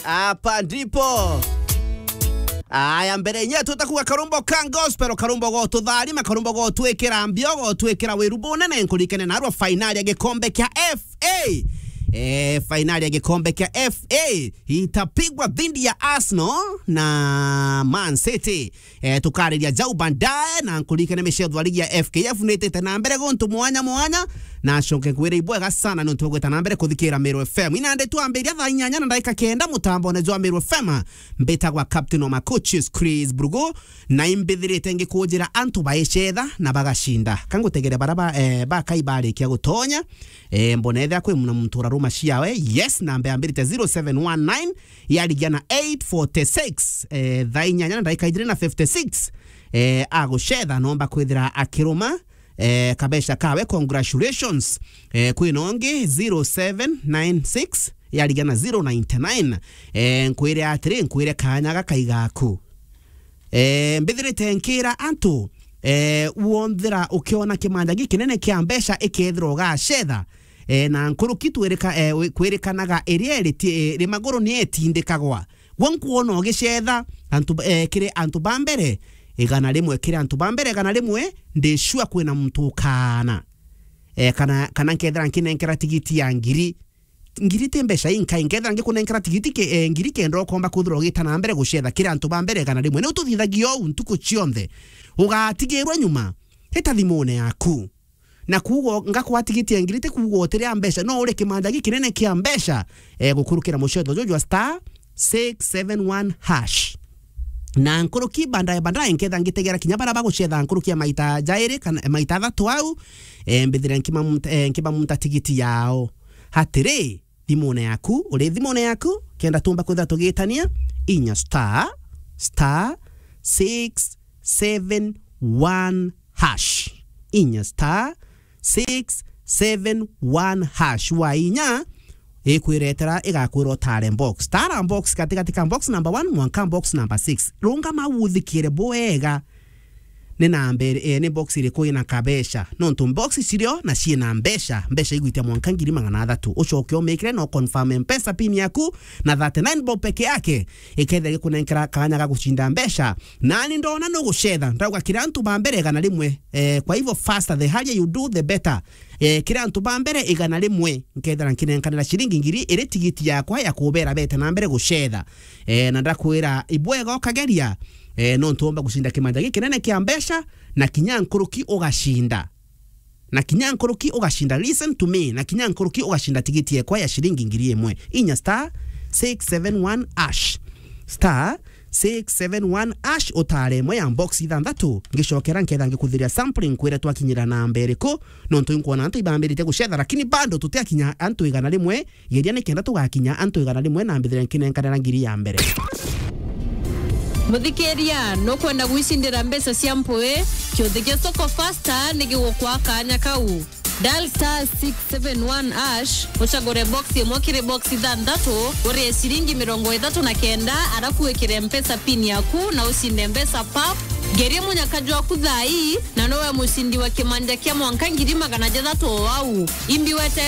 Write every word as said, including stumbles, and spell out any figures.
Hapa ndipo. Aya, mbere nye tutakuwa karumbo ka gospel, karumbo gotutharima, karumbo gotwikira mbio, gotwikira wiru bunene, nkurikene narua fainali ya gikombe kia F A. Eh, fainali ya gikombe kia F A itapigwa dhidi ya Arsenal na Man City. Eh, tukariria jau baadaye, na nkuririkane micetho ya ligi ya F K F nitite na mbere guntu mwanya mwanya, na acoke nkwire ibwega sana nontu bwa gwita na mbere kuthikira Meru F M. Inande twambiria thaa inyanya na ndagika kenda mutambone jwa Meru F M. Mbitagwa Captain wa Macoaches, Chris Brugo, na imbithirite ngikunjira antu baicetha na bagacinda. Kangutegere bara ba, eh, bakai barikia gutonya, eh, mbona ethira kwi muna muntu uraruma ciawe. Yes, namba yambirite zero seven one nine, yarigia na eight forty-six, eh, thaa inyanya na ndagika ijiri na fifty-six, eh, agucetha nomba kwithira akiruma, eh, kabeca kawe. Congratulations. Eh, kwina ungi zero seven nine six, yarigia na zero ninety nine. Eh, nkwire atiri, nkwire kanya gaka igaku. Eh, mbithirite nkira antu, eh, wonthira ukiona kimanja gikinene kia mbeca ikethirwa ugacetha, eh, na nkuruki twirika-, eh, wi-, kwirikanaga iria iri ti-, eh, iri maguru ni etindikagwa. Gwe nkwona ugicetha antu, eh, kiri antu ba mbere igana rimwe, kiri antu ba mbere igana rimwe, ndi sure kwina muntu ukaana. Eh, kana, kana nkethira nkinenkera tigiti ya ngiri, ngiri ti mbeca inkai, nkethira ngikunenkera tigiti ki-, eh, ngiri kenda ukomba kwithirwa ugita na mbere gucetha kiri antu ba mbere igana rimwe. Ni ututhithagia uu ntuku cionthe. Ugatigirwa nyuma. Hita thimune yaku. Na kuuga ngakwa tigiti ya ngiri ti kuuga utiria mbeca, no uri kimanja gikinene kia mbeca, eh, gukurukira mucetho juju jwa star six seven one hash. Na nkuruki baadaye, baadaye nketha ngitegera kinya baria bagucetha nkuruki ya maita jairi kana maita athatu au, eh, mbithire nkimamunta, eh, nkibamunta tigiti yao. Atiri, thimune yaku, uri thimune yaku, kenda tumba kwithira tugitania, inya star, star six seven one hash. Inya star six seven one hash. Wa inya, ikwiretera, igakwira utare box. Tara box gatigati ka box number one mwanka box number six. Rungama uthikire bwega. Ni namba iri-, eh, ni box iriku ina kabeca? Nontu box cirio na ciina mbeca, mbeca igwitia mwanka ngiri magana athatu. Ucoke umikire na uconfirm Mpesa pin yaku na thirty-nine bob peke yake, ikethira gikunenkera kanya ga gucinda mbeca. Nani ndona nugucetha, ndauga kiri antu ba mbere igana rimwe. Eh, kwa hivyo faster, the higher you do, the better. Eh, kiri antu ba mbere igana rimwe, nkethira nkinenkanira ciringi ngiri iri tigiti yakwa ya kubera bete na mbere gucetha. Eh, na ndakwira, ibwega ukageria, eh, nontu womba gucinda kimanja gikinene kia mbeca, na kinya nkuruki ugacinda. Na kinya nkuruki ugacinda, listen to me, na kinya nkuruki ugacinda tigiti yekwa ya ciringi ngiri imwe. Inya star six seven one hash. Star six seven one hash, utare imwe ya box ithanthatu. Ngicokera nketha ngikuthiria sampling, nkwire twakinyira namba iriku, nontu inkwona antu ibambirite gucetha, lakini bado tutiakinya antu igana rimwe. Geria nikenda tugakinya antu igana rimwe na mbithire nkinenkanira ngiri ya mbere. Muthikiria, nukwenda gwicindira mbeca cia mpui? Kiuthi gia Soko Faster ni gigukwa kanya kau. Dial star six seven one hash, ucagure box imwe kiri box ithanthatu, urie ciringi mirongo ithatu na kenda, arafu wikire Mpesa pin yaku na ucinde mbeca pap. Geria munyaka jwaku thaa ii, na nowe mucindi wa kimanja kia mwanka ngiri magana jathatu o au. Imbi wete